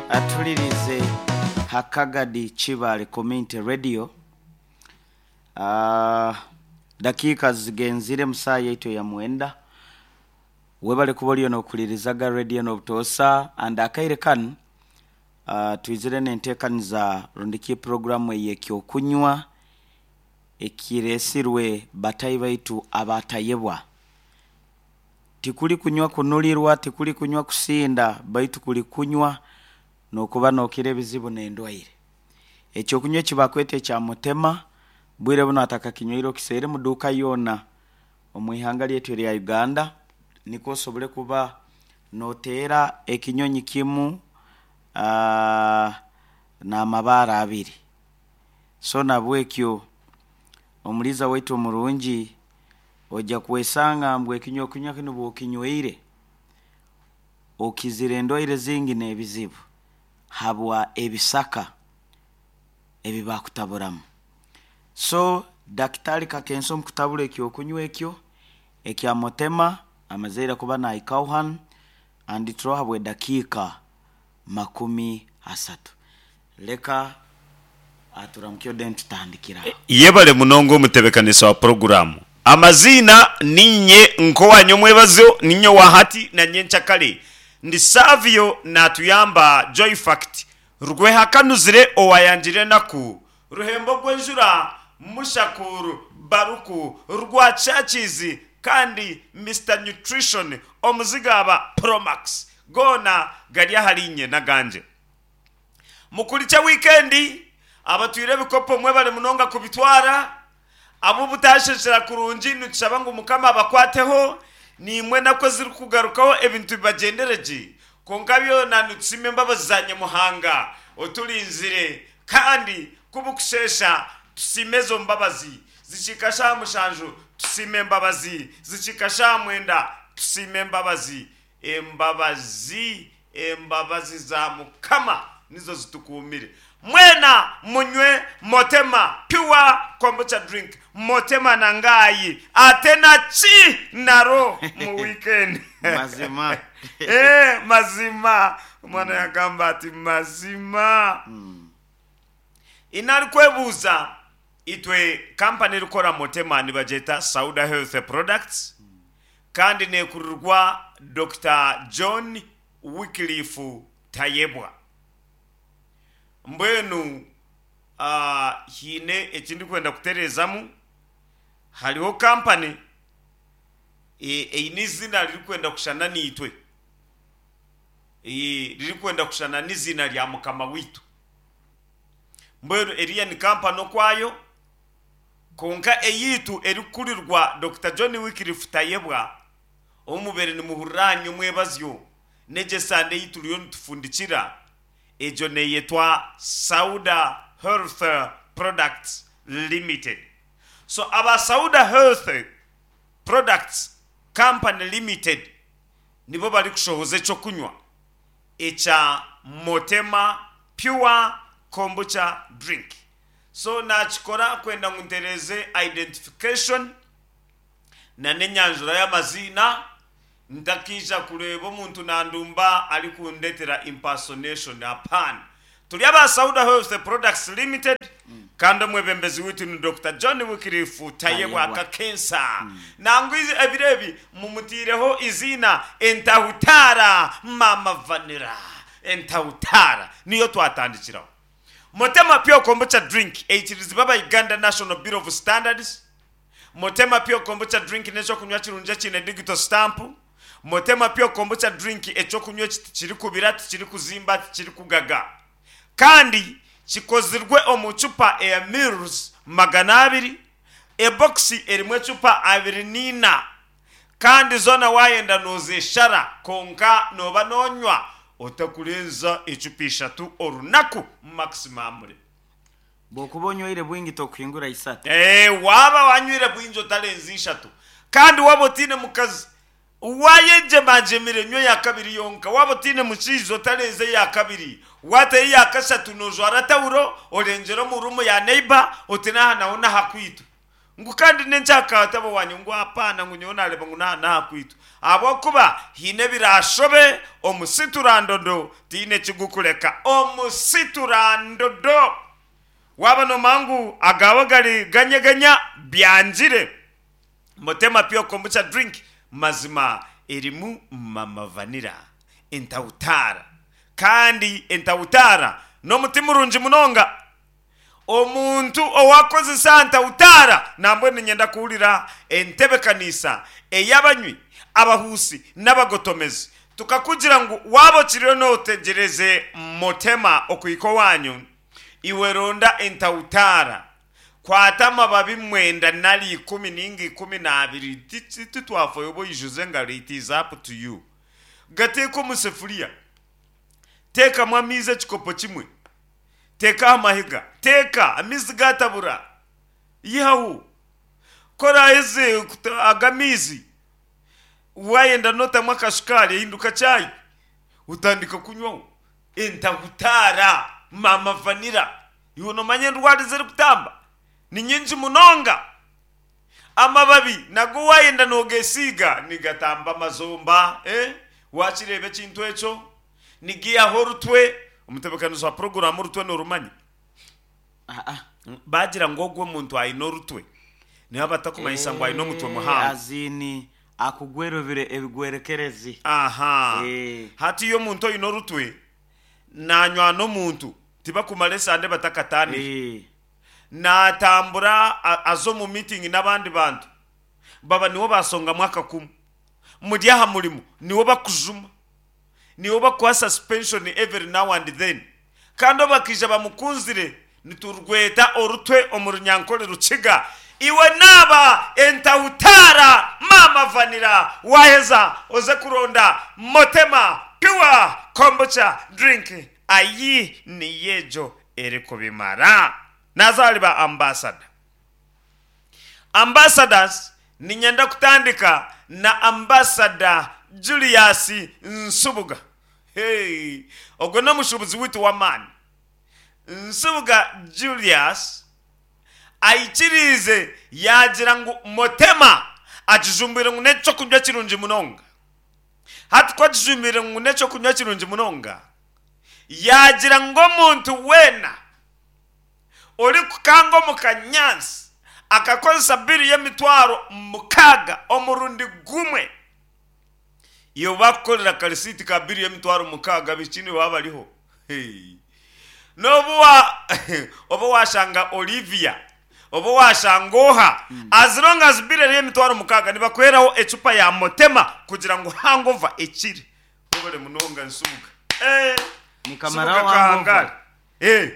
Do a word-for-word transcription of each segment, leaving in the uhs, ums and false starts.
Atulirize Hakagadi Chibale Community Radio. Uh, dakiika zigenzire musaa yaitu ya mwenda. Webale kuba oliyo nokulirizaga radio n'obutoosa and akaire kanu uh, twizire nenteekaniza rundiki programu ey'ekyokunywa ekiresirwe batayi baitu abatayebwa. Tikuli kunywa kunulirwa, tikuli kunywa kusinda, baitu kuli kunywa nokuba nokira ebizibu n'endwaire. Ekyokunywa ekibakweta ekya mutema bwire buno atakakinywaire okiseere mu duuka yoona omu ihanga lyaitu erya Uganda, nikwo osobole kuba noteera ekinyonyi kimu uh, n'amabaare abiri. So nabwekyo omuliza waitu omurungi ojja kwesanga ngu ekinywa kunywa kinu bw'okinywaire okizire endwaire zingi n'ebizibu habwa ebisaka ebi bakutaburamu. So Daktari Kakensa omu kutabura ekyokunywa ekyo ekya mutema amazeire kuba nahikaho hanu andi turoho habw'edakiika makumi asatu. Leka aturamukye then tutandikira aho. Yebale munonga omutebekanisa wa poroguramu. Amaziina ninye nk'owanyu omwebazo, ninye owahati na nyenkyakare. Ndi Savio natuyamba Joy Fact rwehakanuzire owayangire enaku ruhembo rw'enjura Mushakuru Baruku rwa Churches kandi Mister Nutrition omuzigaba Promax goona gari ahari nye n'agangye. Mukurikye wikendi abatwire ebikopo mwebale munonga kubitwara, abo butasheshera kurungi nitushaba ngu Mukama abakwateho, nimwe nako zirikugarukaho ebintu bibagendere gye. Kwonka byona nitusima embabazi za Nyamuhanga oturinzire kandi kubukushesha tusime ezo mbabazi. Zikika shaaha mushanju tusime embabazi, zikika shaaha mwenda tusime embabazi. Embabazi, embabazi za Mukama nizo zitukuumire. Mwena munywe Motema Pure Kombucha Drink. Motema nangayi ate na ki naro mu weekend. Mazima. Eh, mazima. Omwana yagamba ati mazima. Inari kwebuuza itwe kampani erikukora Motema nibagyeta Sauda Health Products kandi nekurirwa Doctor John Wycliffe Tayebwa. Mbwenu uh, hiine ekindikwenda kutereezamu, hariho kampani eine izina ririkwenda kushana niitwe, ririkwenda kushana n'izina rya Mukama waitu. Mbwenu eriya ni kampani okwayo, konka eyitu erikukurirwa Doctor John Wycliffe Tayebwa omubere nimuhurira ahanyu omwebazyo n'egyo esande ei turiyo nitufundikira, egyo neyetwa Sauda Health Products Limited. So aba Sauda Health Products Company Limited nibo barikushohoza ekyokunywa ekya Motema Pure Kombucha Drink. So nakikora kwenda ngu ntereeze identification na n'enyanjura y'amaziina, ntakiija kureeba omuntu nandumba arikundetera impersonation. Hapana. Turi aba Sauda Health Products Limited kandi omwebembezi waitu ni Doctor John Wycliffe Tayebwa Kakensa. Nangu ebiro ebi mumutiireho iziina Entahutara Mama Vanilla. Entahutara niyo twatandikiraho. Motema Pure Kombucha Drink eikirizibwa aba Uganda National Bureau of Standards. Motema Pure Kombucha Drink n'ekyokunywa kirungi ekiine digital stamp. Motema Pure Kombucha Drink ekyokunywa eki tikirikubira, tikirikuzimba, tikirikugaga. Kandi kikozirwe omu cupa eya mils magana abiri, ebokisi erimu ecupa abiri n'ina. Kandi zoona wayenda noozeshara, konka nooba noonywa otakurenza ecupa ishatu orunaku maximum. Bw'okuba onywaire bwingi tokuhingura isatu. Eh, waaba wanywire bwingi otarenza ishatu. Kandi waaba otiine mukazi, wayegyemagyemire nywa eya kabiri yonka. Waaba otiine mushaija otarenza eya kabiri. Waatayo eya kashatu noojwara tawuro orengyera omu ruumu ya neighbor oti n'aha naho n'aha kwitu. Ngu kandi n'enkyakatabo wanyu ngu hapana, ngu nyowe nareba ngu naha naha kwitu ahabwokuba hiine ebirashobe omusiturandodo tiine kigukureka omusiturandodo waba nomanya ngu agawe gari ganyeganya byangire. Motema Pure Kombucha drink mazima erimu mama vanilla, entawutara, kandi entawutara n'omuti murungi munonga. Omuntu owakozesa ntawutara nambwenu niinyenda kuhurira entebekanisa ey'abanywi, abahuusi n'abagotomezi. Tukakugira ngu waaba okiriyo nootegyereze Motema okuhika owaanyu, iwe ronda entawutara, kwata amababi mwenda nari ikumi ninga ikumi n'abiri, titwafayo oba oijuze engaro, it is up to you. Gateeke omu sefuriya, teekamu amaizi ekikopo kimwe, teeka aha mahega, teeka amaizi gaatabura, ihaho. Ku oraaheze aga amaizi, waayenda nootamu akashukaari ehinduka chai, otandika kunywaho. Entahutaara, maama vanilla, iwe noomanya endwara ezirikutamba ni nyingi munonga. Amababi nago waayenda noogeesiiga nigatamba amazomba, eh? Waakireeba ekintu ekyo? Nigiihaho orutwe. Omutebeekanisa wa puroguraamu orutwe noorumanya? Ah-ah. Baagira ngu ogwo omuntu aine orutwe, nibo batakumanyisa ngu aine omutwe muhango. Azini akugwerobire ebigwerekerezi. Aha. Eh. Hati iyo omuntu oine orutwe nanywana omuntu tibakumara esande batakataanire. Eh. Naatambura a- aza omu meeting n'abandi bantu baba niwo basongamu akakumu, muri aha murimo niwo bakujuma, niwo bakuha suspension every now and then, kandi obakaija bamukunzire niturweta orutwe omu Runyankore Rukiga. Iwe naaba entahutaara maama vanilla, waheza oze kuronda Motema Pure Kombucha drink, ayi niyo egyo erikubimara. Naza ahari ba ambassador. Ambassadors, niinyenda kutandika na Ambassador Julius Nsubuga. Hey, ogwo n'omushuubuzi waitu w'amaani. Nsubuga Julius aikiriize yaagira ngu Motema akijumbwire ngu n'ekyokunywa kirungi munonga. Hati ku akijumbwire ngu n'ekyokunywa kirungi munonga, yaagira ngu omuntu weena orikukanga omu kanyaatsi akakozesa biri y'emitwaro mukaaga omurundi gumwe, iwe bakukorera akarisiiti ka biri y'emitwaro mukaaga, biki nibo bariho. Hey. N'obu wa oba washanga Olivia, oba washanga oha, as long as biri eri y'emitwaro mukaaga, nibakuheraho ecupa ya Motema kugira ngu hangover ekire. Obare munonga Nsubuga. Eh, Nikamara Nsubuga hangover. kahangare. Eh.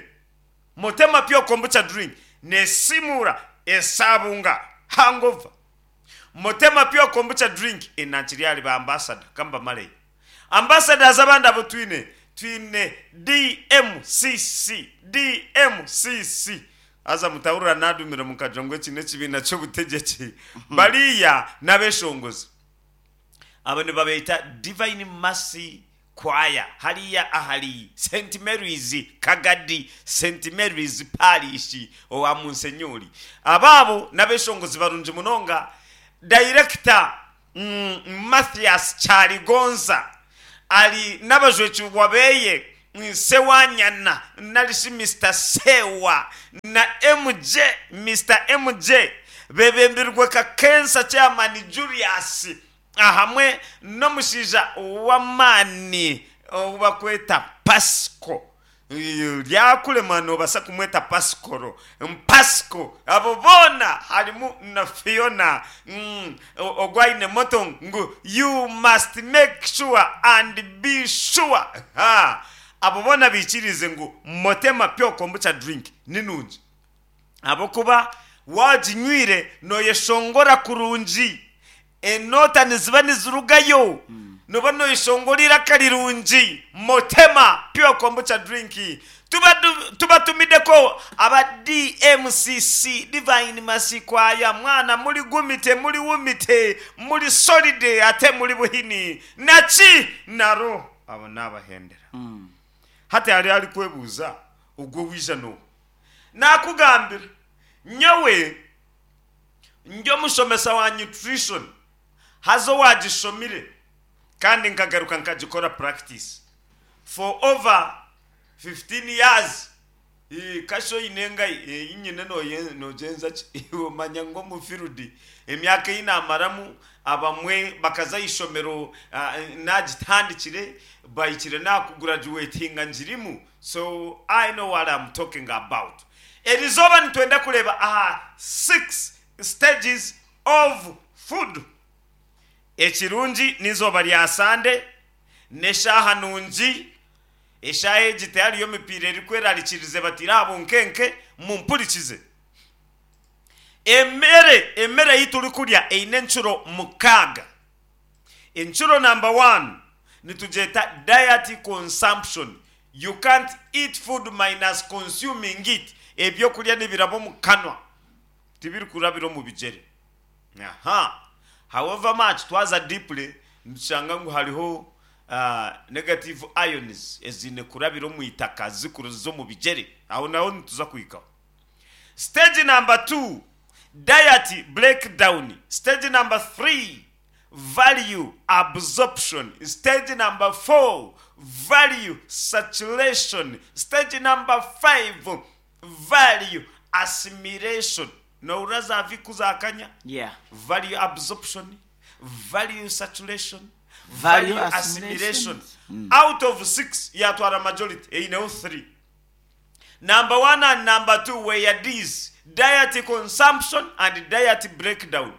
Motema Pure Kombucha drink nesimura esabunga hangover. Motema Pure Kombucha drink enakiri ari ba ambassador kamba male. Ambassadors abandi abo twine twine D M C C, D M C C. Aza mutahurira nadumira mukagira ngu eki n'ekibiina ky'obutegyeki. Bariya n'abeshongozi. Abo nibabeeta Divine Mercy Choir hariya ahari Saint Mary's Kagadi, Saint Mary's Parish owa Munsenyuri. Abaabo n'abeshongozi barungi munonga. Director mm, Mathias Kyaligonza ari n'abajwekirwa beye Sewanyana narishi Mister Sewa na M J, Mister M J, bebembirwe Kakensa Chairman Julius ahamwe n'omushaija w'amaani ou bakweta Pasco. Ryakurema noobasa kumweta Pascoro Pasco. Abo boona harimu na Fiona mm, ogwo aine motto ngu "You must make sure and be sure." Ha, abo boona biikirize ngu Motema Pure Kombucha drink ni nungi ahabwokuba waginywire nooyeshongora kurungi, enota niziba nizirugayo, noba nooyeshongora iraka rirungi. Motema Pure Kombucha drink tuba tubatumideko aba D M C C, Divine Mercy Choir. Mwana muri gumite, muri wumite, muri solid, ate muri buhini naki naro abo nabahendera. Hati hari ari kwebuuza ogwo wija n'oha? Nakugambira nyowe. Ndi omushomesa wa nutrition, haza owagishomire kandi nkagaruka nkagikora practice for over fifteen years. Eh, kasho oine engayi eh, nyine noye- nogyenza ki? Omanya ngu omu field emyaka ei namaramu, abamwe bakaza ishomero ah, nagitandikire, bahikire nakugraduatinga ngirimu, so I know what I'm talking about. Erizooba nitwenda kureeba aha six stages of food. Ekirungi n'izooba rya Sande, n'eshaaha nungi. Eshaaha egi tihariyo emipiira erikwerarikirize, batire aha bunkenke. Mumpurikize. Emere, emere ei turikurya eine enshuro mukaaga. Enshuro number one nitugyeta diet consumption. You can't eat food minus consuming it. Ebyokurya nibiraba omu kanwa, tibirikurabira omu bigyere. Aha, however much twaza deeply, nitushanga ngu hariho uh, negative ions ezine kurabira omu itaka zikuruza omu bigyere. Aho naho nituza kuhikaho. Stage number two, diet breakdown. Stage number three, value absorption. Stage number four, value saturation. Stage number five, value assimilation. Nohurira za viku zakanya? Yeah. Value absorption, value saturation, value value assimilation. Assimilation. Out of six, yatwara majority, eineho three. Number one and number two were these: diet consumption and diet breakdown.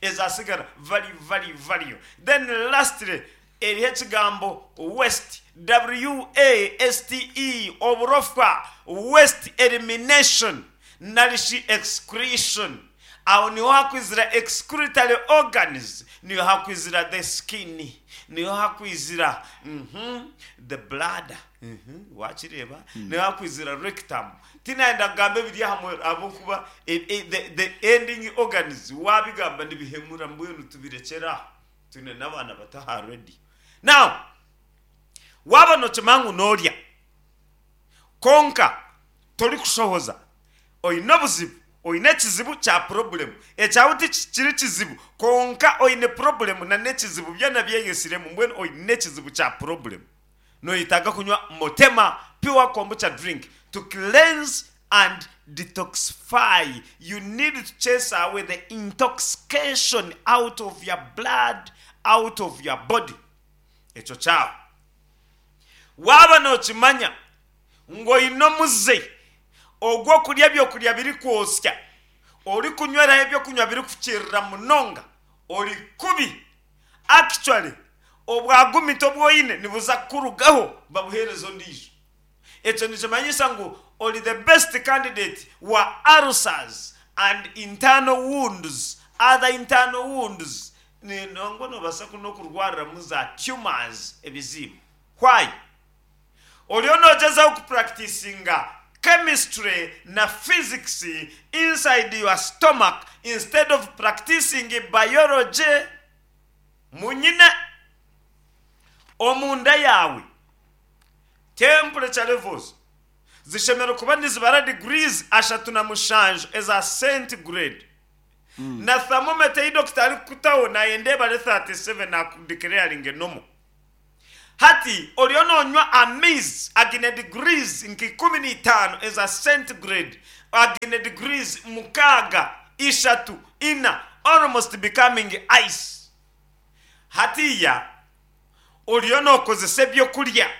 Ezasigara value, value, value. Then lastly, eriho ekigambo waste, W A S T E, oburofa, waste elimination narishi excretion. Aho niho hakwizira excretory organs, niho hakwizira the skin, niho hakwizira mhm, the bladder, mhm, wakireba, niho hakwizira rectum. Tinayenda kugamba ebiri hamwe ahabwokuba e- e- the, the ending organs wabigamba nibihemura. Mbwenu tubirekyera aho, twine n'abaana bato ready now. Waba nokimanya ngu noorya konka torikushohoza, oine obuzibu, oine ekizibu kya problem. Ekyawe tikiri kizibu, konka oine problem na n'ekizibu byona byeyesiremu. Mbwenu oine ekizibu kya problem, noyetaaga kunywa Motema Pure Kombucha drink to cleanse and detoxify. You need to chase away the intoxication out of your blood, out of your body. Ekyo kyawe. Waaba nokimanya ngu oine omuze ogw'okurya ebyokurya birikwosya, orikunyweraho ebyokunywa birikukirira munonga, ori kubi. Actually, obwagumito obwoine nibuza kurugaho babuhereza ondiijo. Ekyo nikimanyisa ngu ori the best candidate wa ulcers and internal wounds, other internal wounds. Nongo nobasa n'okurwariramu za tumors, ebizimba. Why? Oriyo nogyezaho kupracticinga chemistry na physics inside your stomach instead of practicing biology munyine omunda yawe. Temperature levels zishemera kuba nizibara degrees ashatu na mushanju eza centigrade, na thermometer yi dokita ari kukutaho nayenda ebare thirty-seven akudeclaring normal. Hati oriyo nonywa amaizi agine degrees nka ikumi n'itaano eza centigrade, agine degrees mukaaga, ishatu, ina, almost becoming ice. Hatiya oriyo nokozesa ebyokurya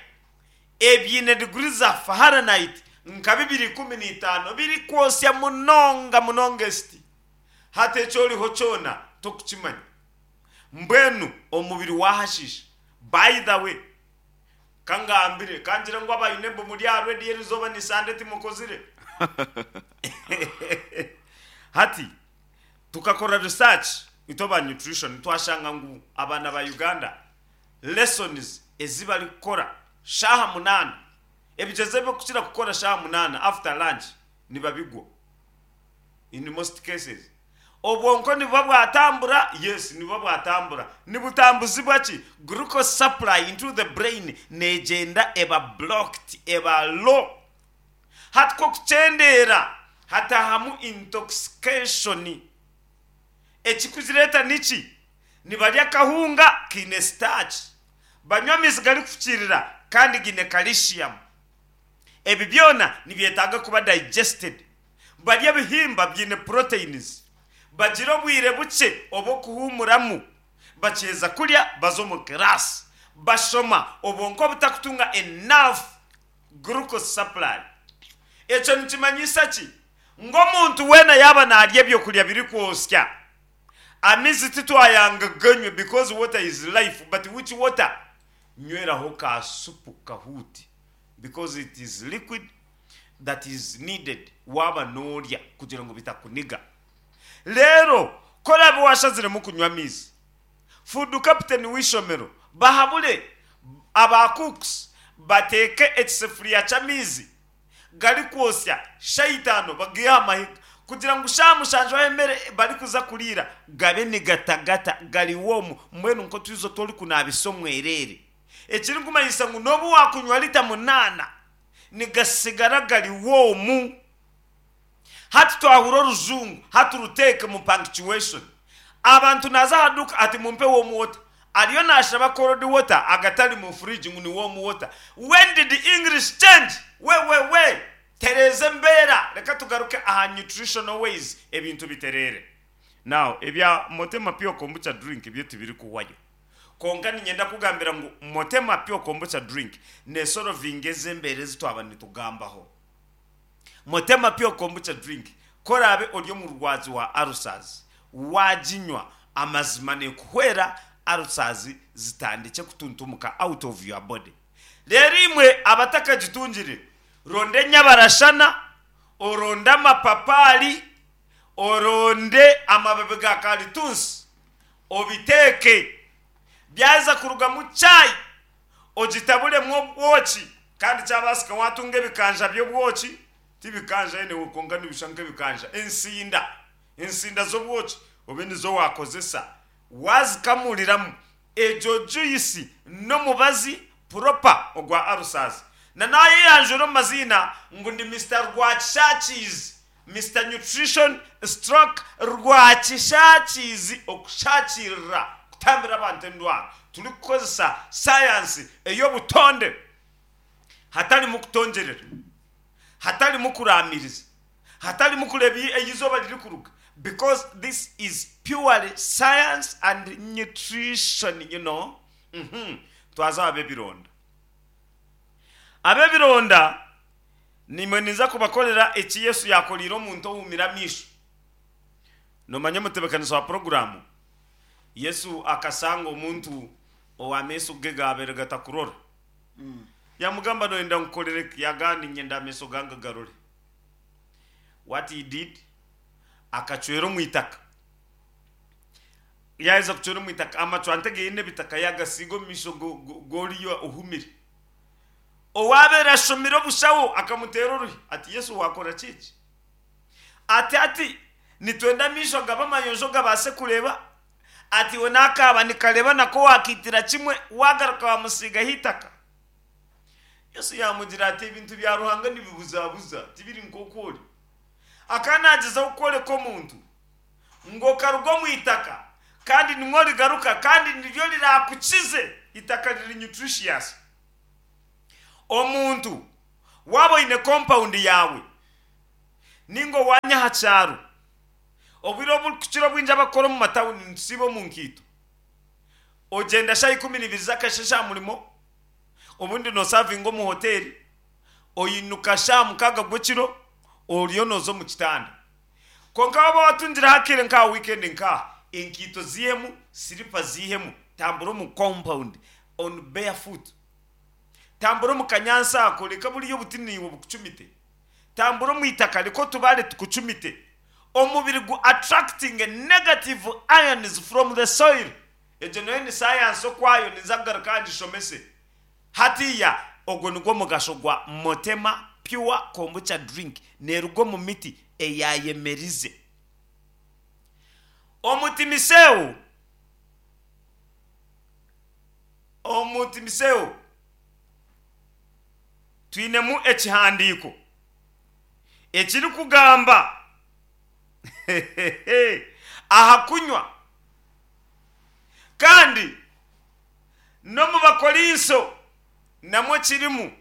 ebyine degrees za Fahrenheit nka bibiri ikumi n'itaano, birikwosya munonga munonga esiti. Hati ekyo oriho kyona tokukimanya. Mbwenu omubiri wahashisha. By the way, kangambire kangira ngu abayine mbu muri already, erizoba ni Sande, timukozire. Hati tukakora research itwe ba nutrition, twashanga ngu abaana ba Uganda lessons ezi bari kukora shaha munaana, ebigyezo byokukira kukora shaha munaana after lunch, nibabigwa in most cases. Obwonko nibuba bwatambura, yes, nibuba bwatambura. Nibutambuzibwa ki? Glucose supply into the brain negyenda eba blocked, eba low. Hati ko kucendeera hatahamu intoxication. Ekikuzireeta niki? Nibarya akahunga kaine starch, banywa amaizi garikufukiirira kandi gaine calcium. Ebi byona nibyetaaga kuba digested. Barya ebihimba biine proteins, bagira obwire bukye obw'okuhuumuramu, bakyeza kurya baza omu class bashoma, obwonko butakutunga enough glucose supply. Ekyo nikimanyisa ki? Ngu omuntu weena yaaba naarya ebyokurya birikwosya, amaizi titwayanga ganywe because water is life, but which water? Nyweraho ka supu kahuuti because it is liquid that is needed waaba noorya kugira ngu bitakuniga. Reero ku oraabe waashaziremu kunywa amaizi, food captain w'eishomero bahabure aba cooks bateeke ekisefuriya ky'amaizi garikwosya shaaha itaano bagihe aha mahiga kugira ngu shaaha mushanju ahu emere barikuza kuriira gabe nigatagata gari warm, mbwenu nk'otwizi otu orikunaabisa omwereere. Ekirikumanyisa ngu n'obu waakunywa lita munaana nigasigara gari warm. Hati twahura orujungu, hati ruteeke mu punctuation. Abantu naaza aha duuka ati mumpe warm water, ariyo naashaba cold water agatari mu fridge ngu ni warm water. When did the English change? We we we, tereeza embeera. Reka tugaruke aha nutritional ways, ebintu bitereere. Now ebya Motema Pure Kombucha drink byo tibirikuhwayo, konka ninyenda kugambira ngu Motema Pure Kombucha drink nesolvinga ez'embeera ezi twaba nitugambaho. Motema Pure Kombucha drink, korabe ori omurwazi wa ulcers, waginywa, amazima nekuhwera ulcers zitandike kutuntumuka out of your body. Rero imwe abatakagitungire, ronde enyabarashana, oronde amapapari, oronde amababi ga karitunsi, obiteeke, byaza kurugamu chai, ogitaburemu obwoki. Kandi kyabaasika watunga ebikanja by'obwoki, tibikanja anyway konka nibishusha nk'ebikanja, ensinda ensinda z'obwoki obe nizo wakozesa, wazikamuriramu egyo juice n'omubazi proper ogwa ulcers. Na nayeyanjura omu maziina ngu ndi Mister Rwakishakizi, Mister Nutrition stroke Rwakishakizi, okushakirira kutambira abantu endwara turikukozesa sayansi ey'obutonde, hatarimu kutongerera, hatarimu kuramiriza, hatarimu kureeba eizooba ririkuruga, because this is purely science and nutrition you know mm -hmm. Twaza ab'ebironda. Ab'ebironda nimwe niza kubakorera eki Yesu yakorire omuntu ohumire amaisho. Nomanya omutebekanisa wa poroguramu, Yesu akasanga omuntu ow'amaiso ge gaabere gatakurora, yamugamba, "Noyenda nkukorere ki?" Yagamba, "Ninyenda amaiso gange garore." What he did, akacwera omu itaka. Yaheza kucwera omu itaka, amacwante geine ebitaka yagasiiga omu maisho g'oriyo ohumire. Owabeera ashomire obushaho akamuteera oruhi ati, "Yesu, wakora kiki?" Ati ati nitwenda amaisho gaba amayonjo gabaase kureeba. Ati we nakaba nikareba nako wakiitira kimwe, wagaruka wamusiigaho itaka. Yesu yamugira ati, "Ebintu bya Ruhanga nibibuzabuza, tibiri nk'oku ori." Akanagezaho kworeka omuntu ngo okaruga omu itaka kandi nimwo rigaruka kandi niryo rirakukize. Itaka riri nutritious. Omuntu waba oine compound yawe ninga owanya aha kyaro, obwire oburikukira obwingi abakora omu matawuni nitusiiba omu nkiito, ogyenda shaaha ikumi n'ibiri z'akasheshe aha murimo, obundi nosavinga omu hoteri, oyinuka shaaha mukaaga gw'ekiro oriyo nooza omu kitanda. Konka waba watungire hakire nka weekend, nkaha enkiito zihemu, silipa zihemu, tambura omu compound on barefoot, tambura omu kanyansi ako, reka buriyo obuti niiwe bukucumite, tambura omu itaka, reka otubare tukucumite. Omubiri gu attracting negative ions from the soil. Egyo nayo ni science okwayo, niza kugaruka ngishomese. Hatiya ogwo nigwo mugasho gwa Motema Pure Kombucha drink, neruga omu miti eyayemerize. Omutimiseo, omutimiseo twinemu ekihandiiko ekirikugamba Aha kunywa. Kandi n'omu Bakorinso namwo kirimu.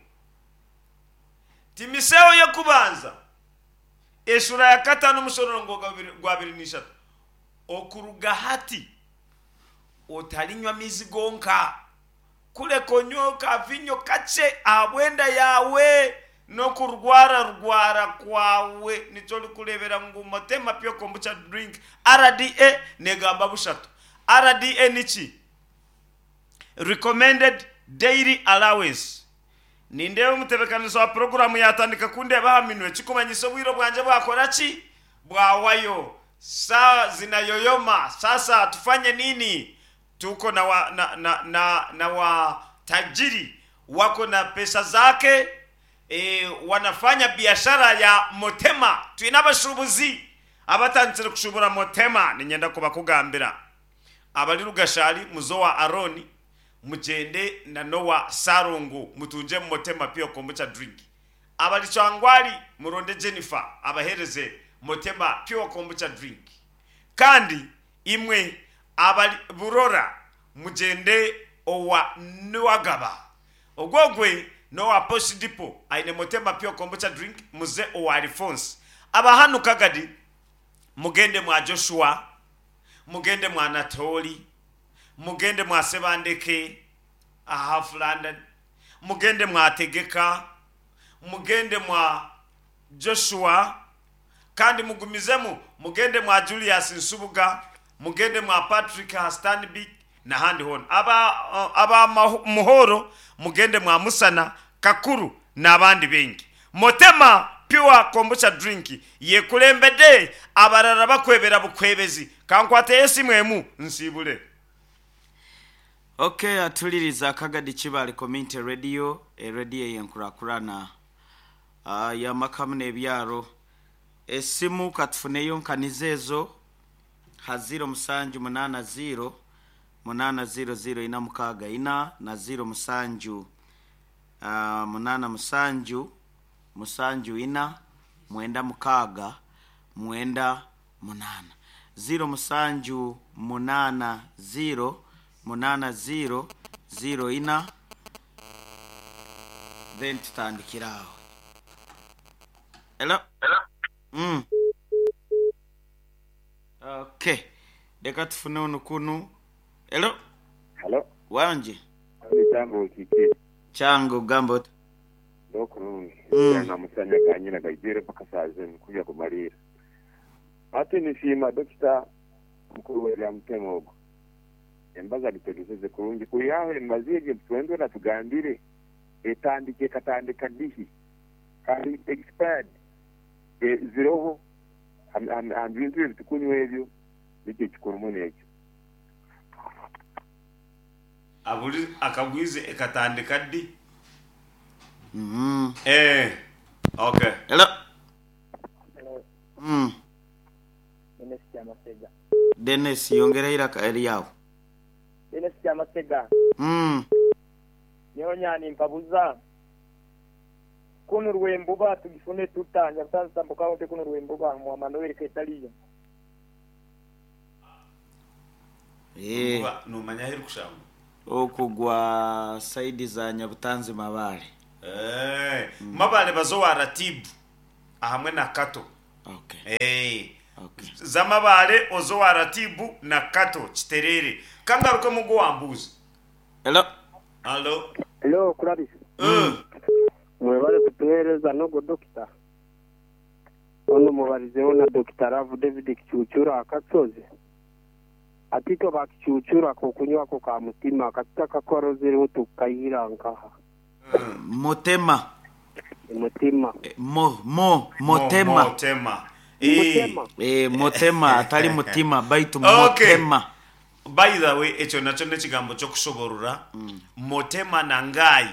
Timoteyo y'okubanza eshura ya katano omushororongo gwa abiri n'ishatu. Okuruga hati otarinywa amaizi gonka, kureka onywe kavinyo kakye ahabw'enda yaawe n'okurwara rwara kwawe. Nikyo orikureebera ngu Motema Pure Kombucha Drink R D A negamba bushatu. R D A niki? Recommended Daily Allowance. Nindeeba omutebeekanisa wa puroguraamu yaatandika kundeeba aha minwe, kikumanyisa obwire bwangye bwakora ki? Bwawayo. Saa zinayoyoma. Sasa tufanye nini? Tuko na wa, na, na, na, na watajiri wako na pesa zake e, wanafanya biashara ya Motema. Twine abashuubuzi abatandikire kushubura Motema. Niinyenda kubakugambira abari Rugashari muzo wa Aroni, mugyende na Nowa Sarongo, mutungye Motema Pure Kombucha Drink. Abari Kyangwali muronde Jennifer abahereze Motema Pure Kombucha Drink. Kandi imwe abari Burora mugyende owa Nuwagaba, ogwogwe nowa Post Depot aine Motema Pure Kombucha Drink, muze owa Alphonse. Abahanu Kagadi mugende mwa Joshua, mugende mwa Anatoli, mugende mwa Sebandeke aha Half London, mugende mwa Tegeka, mugende mwa Joshua, kandi mugumizemu mugende mwa Julius Nsubuga, mugende mwa Patrick Stanbic n'ahandi hoona. Aba, aba Muhoro mugende mwa Musana Kakuru n'abandi bengi. Motema Pure Kombucha Drink yekulembedde, abarara bakwebera bukwebezi. Kankwate esimu emu nsiibule. Okay, atuliriza Kagadi Kibale Community Radio, eradio yenkurakurana uh, yamakamu n'ebyaro. Esimu katufuneyo nkaniza ezo ha ziro musanju munana ziro munana ziro ziro ina mukaaga ina na ziro musanju uh, munana musanju musanju ina mwenda mukaaga mwenda munana. Ziro musanju munana ziro munana ziro ziro ina, then tutandikira aho. Hello? Mm. Okay, reka tufune ono kunu. Hello? Hello. Wanje. Chango kiki. Chango gamba oti. Ndokurungi. Mm. Na musanya kanyina gaijire paka saa zinu kuja kumalira. Ate nishima dokita mukuru wa Mutema ogo. Embaza litegeseze kurungi kuyawe embazige twendwe na tugambire etandike katandika dihi kandi expired e, ziroho ambintu ebitukunywa ebyo nikyo kikuru n'ekyo. Aburi akagwize ekatandika ddi. Mm. Eh, okay. Hello. Hello. Mm. Dennis Kyamasega. Dennis yongera iraka eryawo. Dennis Kyamasega. Mm. Nyonya mpabuza. Kuno rwembuba tugifune tutanya sasa mbuka wote kuno rwembuba mwa Manuel Ketaliyo. Eh, numanya heri kushangu. Okugwa saidi za Nyabutanzi Mabale. Eh, mm. Mabale bazowa ratibu ahamwe na Kato. Okay. Eh. Okay. Za Mabale ozowa ratibu na Kato kiterere. Kangaruka mugo wambuzi. Hello. Hello. Hello, Kurabisi. Mm. Mwebale kutuhereza nogo dokita. Ono mubarizeho na Dokita Ravu David Kichuchura akatsoze. Atito bakichuchura ko kunywa ko ka mutima kataka korozereho tukayira nkaha. Motema. Mutima. Eh, mo mo motema. Mo, motema. Eh. Motema. Eh, motema atali mutima baitu Okay. motema. By the way, ekyo nakyo n'ekigambo ky'okushoborora. Mm. Motema nangai.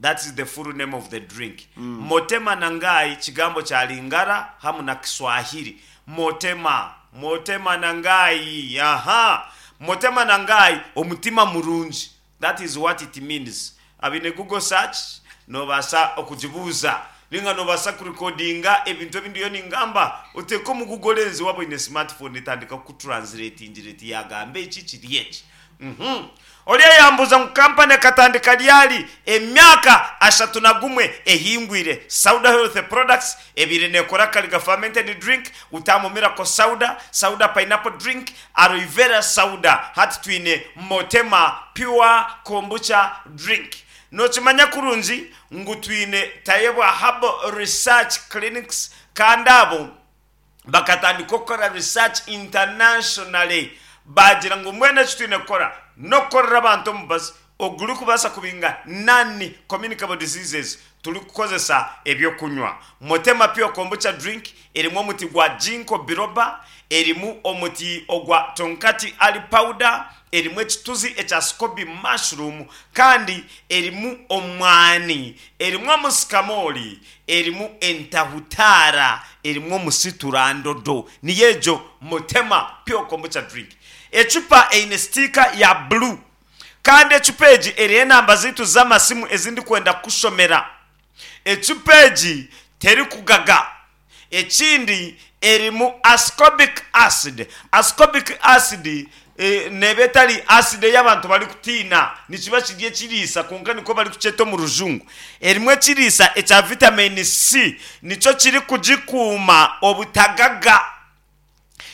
That is the full name of the drink. Mm. Motema nangai kigambo cha Lingala hamu na Kiswahili. Motema, motema nangai. Aha. Motema nangai omutima murungi. That is what it means. Abine Google search no basa okujibuza. Ninga nobaasa kurikodinga ebintu ebindi yo ningamba oteeka omu Google Lens waaba oine smartphone etandika kukutranslatingira eti yagamba eki kiri eki. Mhm. Oriya yambuuza ngu kampani ekatandika ryari? Emyaka ashatu na gumwe ehingwire. Sauda Health Products ebaire neekora Kariga Fermented Drink, Utamu Miracle Sauda, Sauda Pineapple Drink, Aloe Vera Sauda. Hati twine Motema Pure Kombucha Drink. Nookimanya kurungi ngu twine Tayebwa Herbal Research Clinics kandi abo bakatandika okukora research internationally baagira ngu mbwenu eki twine kukora n'okukorera abantu omubazi ogurikubaasa kubinga non-communicable diseases turikukozesa ebyokunywa. Motema Pure Kombucha Drink erimu omuti gwa Ginkgo biloba, erimu omuti ogwa Tongkat Ali powder, erimu ekituzi ekya Scoby mushroom kandi erimu omwani, erimu omusikamoori, erimu entahutaara, erimu omusiturandodo. Niyo egyo Motema Pure Kombucha Drink. Ecupa eine sitiika ya blue kandi ecupa egi eriho enamba zaitu z'amasimu ezi ndikwenda kukushomera. Ecupa egi terikugaga. Ekindi erimu ascorbic acid. Ascorbic acid e, neeba etari acid ei abantu barikutiina, nikiba kiri ekiriisa kwonka nikwo barikukyeta omu rujungu. Erimu ekiriisa ekya vitamin C nikyo kirikugikuuma obutagaga.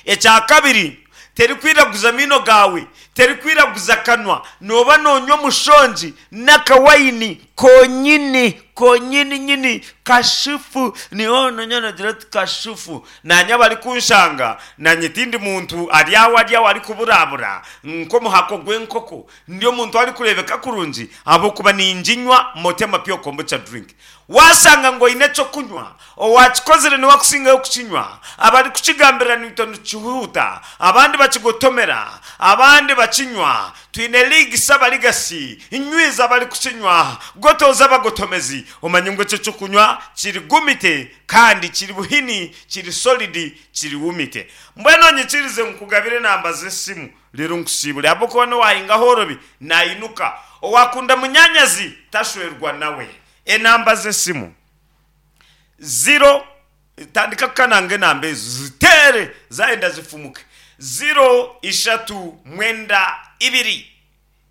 Ekya kabiri, terikwiraguza maino gaawe, terikwiraguza kanwa, nooba noonywa omushongi n'akawayini konyini konyini nyini kashufu, niho nonya nogira oti kashufu. Naanye abarikunshanga naanye tindi muntu ari aho ari aho arikuburabura nk'omuhako gw'enkoko, ndi omuntu arikureebeka kurungi ahabw'okuba ninginywa Motema Pure Kombucha Drink. Waashanga ngu oine ekyokunywa, owaakikozire niwe akusingayo kukinywa, abarikukigambira naitwe nikihuuta, abandi bakigotomera, abandi bakinywa. Twine liigisa abarigasi, nywiza abarikukinywa, gotooza abagotomezi. Omanye ngu ekyo ekyokunywa kiri gumite kandi kiri buhini, kiri solid, kiri wumite. Mbwenu onyikirize nkugabire enamba z'esimu reero nkusiibure ahabw'okuba n'owahinga ahoorobi nainuka. Owaakunda munyaanyazi tashwerwa nawe. Enamba z'esimu ziro, tandika kukananga enamba ezo ziteere zaayenda zifumuke. Ziro ishatu mwenda ibiri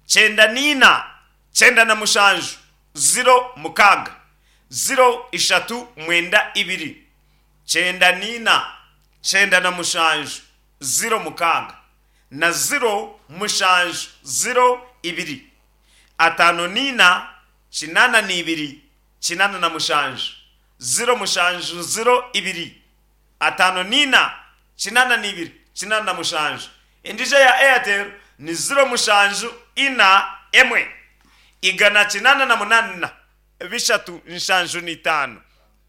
kyenda niina kyenda na mushanju ziro mukaaga. Ziro ishatu mwenda ibiri kyenda niina kyenda na mushanju ziro mukaaga na ziro mushanju ziro ibiri ataano niina kinaana n'ibiri kinaana na mushanju ziro mushanju ziro ibiri ataano niina kinaana n'ibiri kinaana na mushanju. Endiijo eya Airtel ni ziro mushanju ina emwe igana kinaana na munaana bishatu nshanju n'itaano.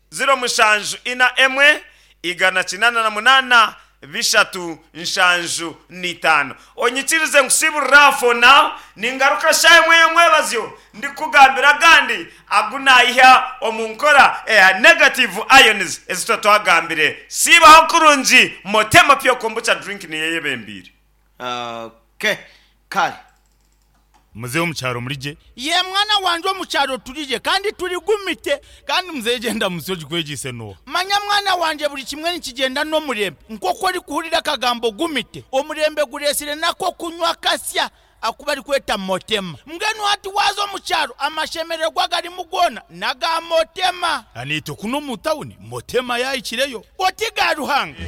Ziro mushanju ina emwe igana kinaana na munaana bishatu nshanju n'itaano. Onyikirize nkusiiburira for now, ningaruka shaaha emwe y'omwebazyo ndikukugambira agandi agu naiha omu nkora eya negative ions ezi tuba twagambire. Siibaho kurungi, Motema Pure Kombucha Drink niyo eyebembeire. Okay, kare. Muzeeyi omu kyaro muri gye? Yee mwana wangye omu kyaro turi gye kandi turi gumite. Kandi muzeeyi gyenda musyo ogikwegyeise n'oha? Manya mwana wangye buri kimwe nikigyenda n'omurembe. Nk'oku orikuhurira akagambo gumite, omurembe gureetsire n'ak'okunywa kasya aku barikweta Motema. Mbwenu hati waaza omu kyaro amashemererwa agarimu goona n'aga Motema. Naitwe kunu omu tawuni Motema yaahikireyo. Oti ga Ruhanga!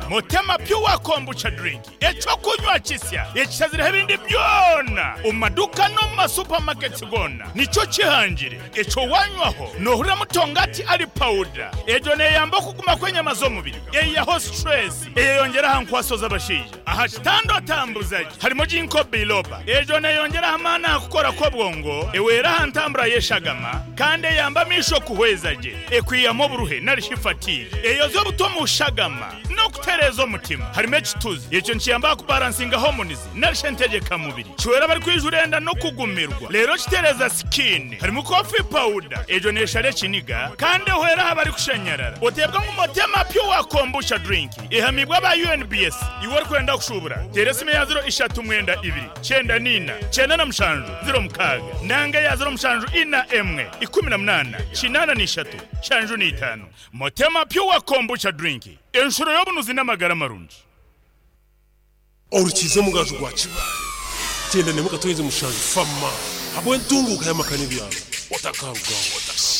Motema Pure Kombucha Drink, eky'okunywa kisya ekishazireho ebindi byona omu maduuka n'omu masupamaketi goona nikyo kihangire. Ekyo wanywaho noohuriramu tongati ali pawuda. Egyo neeyamba okuguma kw'enyama z'omubiri, eihaho situresi, eyeyongyera aha nkwaso z'abashaija. Aha kitanda otambuza gye harimu Ginkgo biloba. Egyo neeyongyera aha maani aha kukora kw'obwongo, ehwera aha ntambura y'eshagama kandi eyamba amaisho kuhweza gye. Ekwihamu oburuhe nari shi fatigue. Eyozya obutwa omu shagama n'okutereeza Netereeza omutima. Harimu ekituzi, ekyo nikiyamba kubalansinga hormones narisha entegeka mubiri. Kiwera abari enda n'okugumirwa. Leero kitereeza skin. Harimu coffee powder, egyo neeshara ekiniga kandi ehwera aha barikushanyarara. Oteebwa ngu Motema Pure Kombucha Drink ehamibwa aba U N B S. Iwe orikwenda kushubura, teera esimu ya ziro ishatu mwenda ibiri kyenda niina kyenda na mushanju ziro mukaaga nanga ya ziro mushanju ina emwe ikumi na munaana kinaana n'ishatu shanju n'itaano. Motema Pure Kombucha Drink, enshuro y'obunuzi n'amagara marungi. Orukiza omugaju gwa Kibaale kyenda nemwe katonyeze mushanju fama habwe entunguka y'amaka n'ebyaro otakarugaho.